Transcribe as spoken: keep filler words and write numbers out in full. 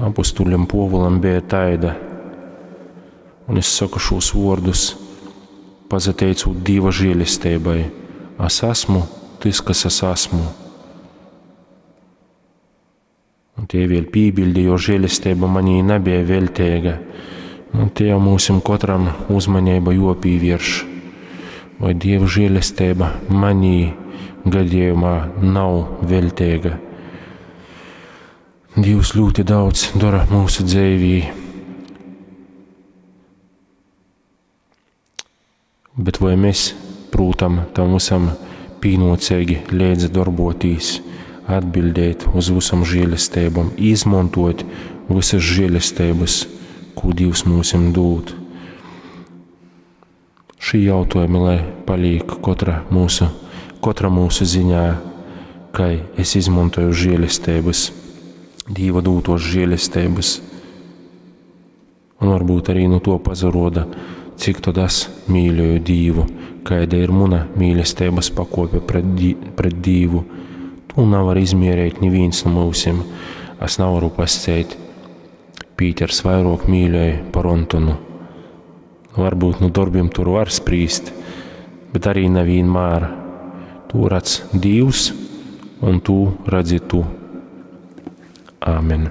Apustuļam Puovulam beja taida. Un es soku šūs vuordus, pazateicūt Dīva žielesteibai. Es esmu tys, kas es esmu. Un tie vēļ pībildi, jo žēlesteiba manī nebija velteiga. Un te jau mūsim kotram uzmanība jopīvērš. Vai Dieva žēlesteiba manī gadījumā nav velteiga? Dievs ļoti daudz dara mūsu dzīvī. Bet vai mēs, prūtam, tam visam pīnocīgi līdzi darbotīs, atbildēt uz visam žēlestībām, izmantot visas žēlestības, ko Dievs mūsim dod? Šī jautājumi, lai paliek katra mūsu, katra mūsu ziņā, kā es izmantoju žēlestības, Dieva dūtos žēlestības. Un varbūt arī no to pazaroda, cik tad es mīļoju Dievu, kāda ir muna mīlestības pakope pret, di pret Dievu. To nevar izmierēt neviens no mūsim. Es nevaru pascēt, Pīters vairāk mīļoja par Antonu. Varbūt no darbiem tur var sprīst, bet arī nevienmēr. To redz Dievs un tu redzi tu. Āmen.